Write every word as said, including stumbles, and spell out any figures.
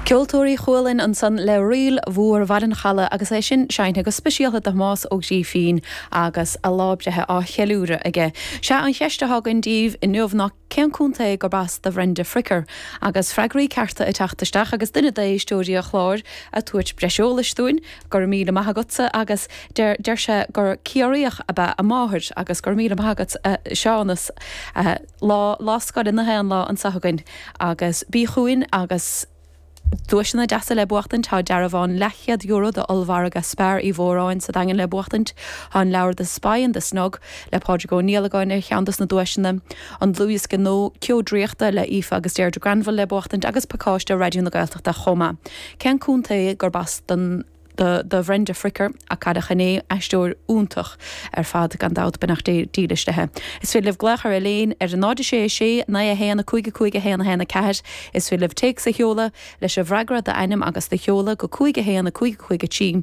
Ceoltóirí Chualann ansan le Ríl Mhór Bhaile an Chalaidh agus é sin seinnte go speisialta do Thomás Ó Grífín agus a lá breithe á cheiliúradh aige. Sé an cheist atá againn daoibh inniu ná cén contae gurb as do Bhrenda Fricker agus freagraí cearta ag teacht isteach agus duine d'éisteoirí an chláir ag tabhairt breis eolais dúinn go raibh míle maith agatsa agus deir deir sé gur Ciarraíoch ab ea a máthair agus go raibh míle maith agat Seánas lá lá scoile na haon lá anseo againn agus bí chugainn agus Duaiseanna deasa le buachtaint tá dearbhán leathchéad euro do ollmhargadh Spar Uí Mhóráin sa Daingean le buachtaint tá an leabhar The Spy in the Snug le Pádraig Ó Niallagáin ar cheann dos na duaiseanna, an dlúthdhiosca nua Ceo Draíochta le Aoife agus Deirdre Granville le buachtaint agus pacáiste Raidió na Gaeltachta chomh maith. Cén contae gurb as don do, do Bhrenda Fricker a cailleadh inné aisteoir iontach ar fad gan dabht beannacht Dé dílis léi. Is féidir libh glaoch ar léin ar an náid sé sé naoi a haon a cúig a cúig a haon a haon a ceathair, is féidir libh téacs a sheoladh leis an bhfreagra d'ainm agus do sheoladh go cúig a haon a cúig cúig a trí.